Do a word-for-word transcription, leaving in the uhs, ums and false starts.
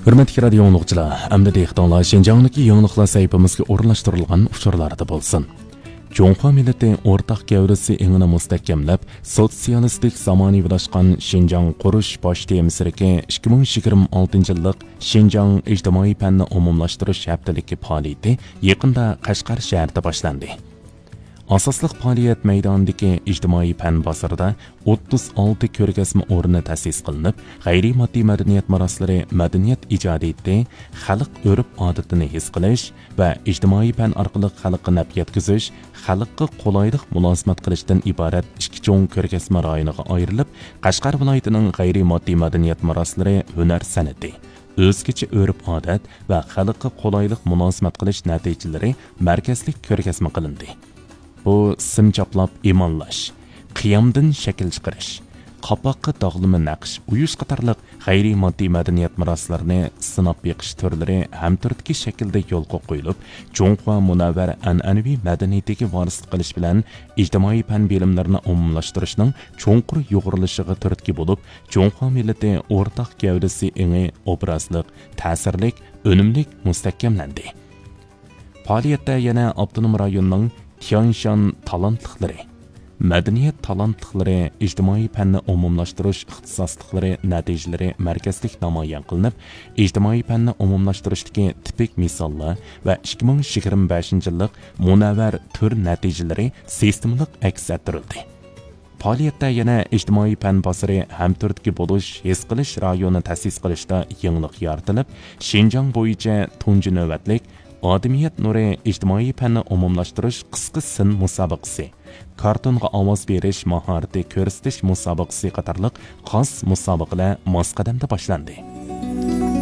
ھۆرمەتلىك رادىيو ئاڭلىغۇچىلار، ئەمدى دىققىتىڭلار شىنجاڭدىكى يېڭىلىقلار سەھىپىمىزگە ئورۇنلاشتۇرۇلغان ئۇچۇرلاردا بولسۇن. جۇڭخۇا مىللىتى ئورتاق گەۋدىسى ئېڭىنى مۇستەھكەملەپ، سوتسىيالىستىك زامانىۋىلاشقان شىنجاڭ قۇرۇش باش تېمىسىدىكى ئىككى مىڭ يىگىرمە ئالتىنچى يىللىق شىنجاڭ ئىجتىمائىي پەننى ئومۇملاشتۇرۇش ھەپتىلىكى پائالىيىتى يېقىندا قەشقەر شەھىرىدە باشلاندى. ئاساسلىق پائالىيەت مەيدانىدىكى ئىجتىمائىي پەن بازىرىدا ئوتتۇز ئالتە كۆرگەزمە ئورنى تەسىس قىلىنىپ، غەيرىي ماددىي مەدەنىيەت مىراسلىرى مەدەنىيەت ئىجادىيىتى، خەلق ئۆرپ-ئادىتىنى ھېس قىلىش ۋە ئىجتىمائىي پەن ئارقىلىق خەلققە نەپ يەتكۈزۈش، خەلققە قولايلىق مۇلازىمەت قىلىشتىن ئىبارەت ئىككى چوڭ كۆرگەزمە رايونىغا ئايرىلىپ، قەشقەر ۋىلايىتىنىڭ غەيرىي ماددىي مەدەنىيەت مىراسلىرى، ھۈنەر سەنئىتى، ئۆزگىچە ئۆرپ-ئادەت ۋە خەلققە قولايلىق مۇلازىمەت قىلىش نەتىجىلىرى مەركەزلىك كۆرگەزمە قىلىندى. بۇ سىم چاپلاپ ئىماللاش، قىيامدىن شەكىل چىقىرىش، قاپاققا داغلىما نەقىش ئويۇش قاتارلىق غەيرىي ماددىي مەدەنىيەت مىراسلىرىنى سىناپ بېقىش تۈرلىرى ھەمتۈرتكە شەكىلدە يولغا قويۇلۇپ، جۇڭخۇا مۇنەۋۋەر ئەنئەنىۋى مەدەنىيىتىگە ۋارىسلىق قىلىش بىلەن ئىجتىمائىي پەن بىلىملىرىنى ئومۇملاشتۇرۇشنىڭ چوڭقۇر يۇغۇرۇلۇشىغا تۈرتكە بولۇپ، جۇڭخۇا مىللىتى ئورتاق گەۋدىسى ئېڭى ئوبرازلىق، تەسىرلىك، ئۈنۈملۈك مۇستەھكەملەندى. پائالىيەتتە يەنە ئاپتونوم رايوننىڭ تيانشان تالانتلىقلىرى، مەدەنىيەت تالانتلىقلىرى، ئىجتىمائىي پەننى ئومۇملاشتۇرۇش ئىختىساسلىقلىرى نەتىجىلىرى مەركەزلىك نامايان قىلىنىپ، ئىجتىمائىي پەننى ئومۇملاشتۇرۇشتىكى تىپىك مىساللار ۋە ئىككى مىڭ يىگىرمە بەشىنچى يىللىق مۇنەۋۋەر تۈر نەتىجىلىرى سىستېمىلىق ئەكس ئەتتۈرۈلدى. پائالىيەتتە يەنە ئىجتىمائىي پەن بازىرى ھەمتۈرتكە بولۇش، ھېس قىلىش رايونى تەسىس قىلىشتا يېڭىلىق يارىتىلىپ، شىنجاڭ بويىچە تۇنجى نۆۋەتلىك ئادىمىيەت نۇرى ئىجتىمائىي پەننى ئومۇملاشتۇرۇش قىسقا سىن مۇسابىقىسى، كارتونغا ئاۋاز بېرىش ماھارىتى كۆرسىتىش مۇسابىقىسى قاتارلىق خاس مۇسابىقىلەر ماس قەدەمدە باشلاندى.